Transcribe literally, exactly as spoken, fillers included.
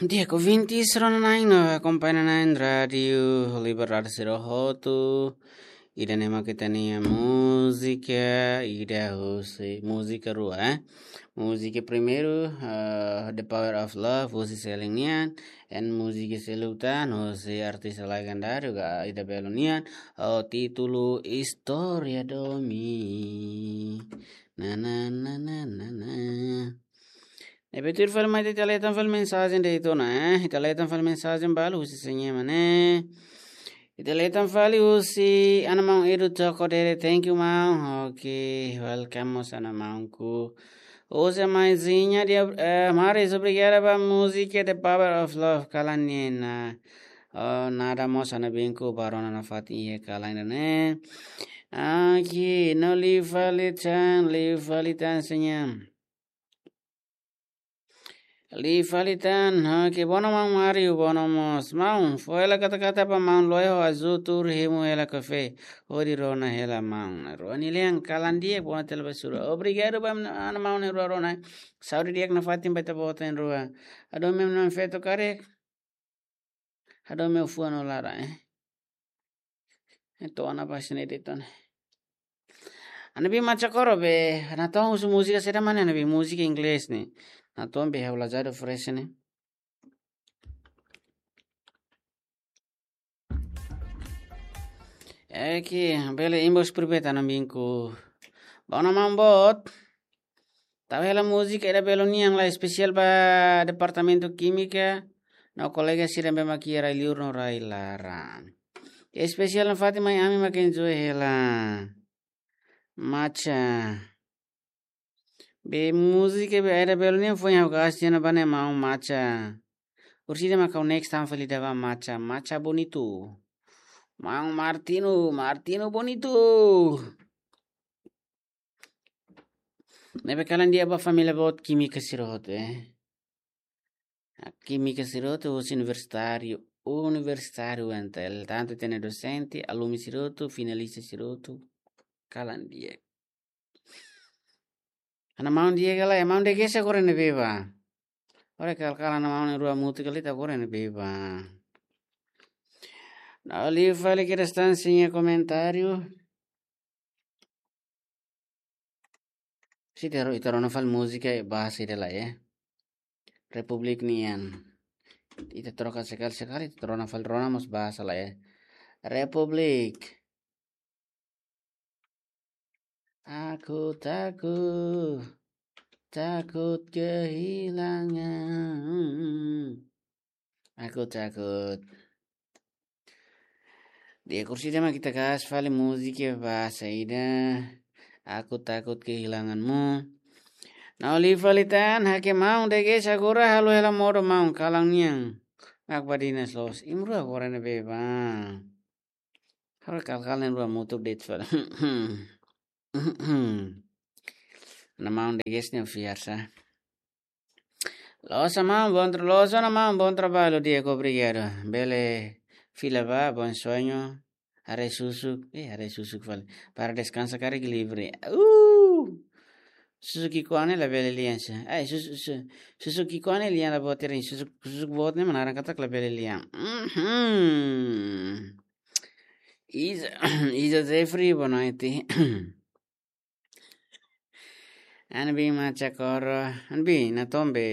Di'ak, ouvintes rona-na'in no akompaña na'in Rádiu Liberdade sira hotu. Ida-ne'e mak ita-nia múzika, ida husi múzika rua, eh. Múzika primeiru, eh, The Power of Love, husi Selin nian, and múzika seluk tan, husi artista legendáriu, Ida Belo nian, ho títulu Istória Domin. Na, na, na, na, na, na. Ne'ebé tuir fali mai ita lee tan fali mensajen de'it ona, eh. Ita lee tan fali mensajen balu husi sé nia ema ne'e. Ita lee tan fali husi Ana Maun Edu Toko Dere, thank you, maun. Ok, welcome mós Ana Maunku. Husi Maizinha de, eh, Maris, obrigada ba múzika The Power of Love, kalan nian. Oh, nada mós Ana Binku, barona nafatin iha kalan ne'e. Aki, no liu fali tan, liu fali tan senyum. Liu fali tan, ha, ke bono maun Mario, bono mós. Maun, fó hela kata-kata ba maun Loe ho Azu tuur hemu hela kafé. Hodi rona hela maun. Rua nia lian kalan di'ak, bono tela basura. Obrigadu ba Ana Maun na'in-rua rona. Saúde di'ak nafatin ba ita-boot na'in-rua. Hadomi ami-nia feto karik. Hadomi fuan no laran, eh. Entaun, Ana Binku sini de'it ona. Ana Binku, macha koro be, natoon husi múzika saida mak ne'e, Ana Binku, múzika inglés ne'e. Natoon be, ha'u lazadu fresh ne'e. Oke, bele inbox private Ana Binku. Bono maun boot. Tau hela múzika Ida Belo nian la, espesiál ba Departamentu Kímika, no kolega sira ne'ebé mak iha rai-liur no rai-laran. Espesiál nafatin mai ami mak enjoy hela. Macha. Be múzika be Ida Belo nian foin ha'u kasi na bane maun, macha. Orsida mak ha'u next time fali ida ba, macha, macha bonitu. Maun Martino, Martino bonitu. Ne'ebé kalan di'ak ba família boot kímika sira hotu, eh. Kímika sira hotu husi universitáriu, universitáriu entaun, tantu ita-nia dosente, alumni sira hotu, finalista sira hotu, kalan di'ak. Ana Maun di'ak ka lae, Maun Degés agora ne'ebé ba. Ora kal-kal Ana Maun na'in-rua mutu kali ta agora ne'ebé ba. No liu fali ke restante nia komentáriu. Se ita ro-, ita rona fali múzika bahasa ida lae, eh. Republik nian. Ita troka sekali-sekali, ita rona fali, rona mós bahasa lae, eh. Republik. Aku takut, takut kehilangan. Aku takut. Di'ak, orsida mak ita kasi fali múzika bahasa ida, Aku Takut Kehilanganmu. No liu fali tan, ha'u ke Maun Degés agora halo hela modo maun, kalan nian. Mak badinas loos. Imi na'in-rua agora ne'ebé ba. Ha'u kal-kal na'in-rua mutu de'it fali. Ana Maun Degés ne'e fiar sa. Loos Ana Maun, bom tra-, loos Ana Maun, bom trabalho, di'ak, obrigadu. Bele fila ba, bom sonho. Haree susuk, eh, haree susuk fali. Para deskansa karik livre. Uh! Susuk ki'ikoan ne'e labele lian sa. Ai, sus-, su-, susuk ki'ikoan ne'e lian la boot ida, susuk, susuk boot ne'e mak naran katak labele lian. Mhm. Iza, Iza Jeffrey, boa noite. Ana Binku, macha koro, Ana Binku, natoon be.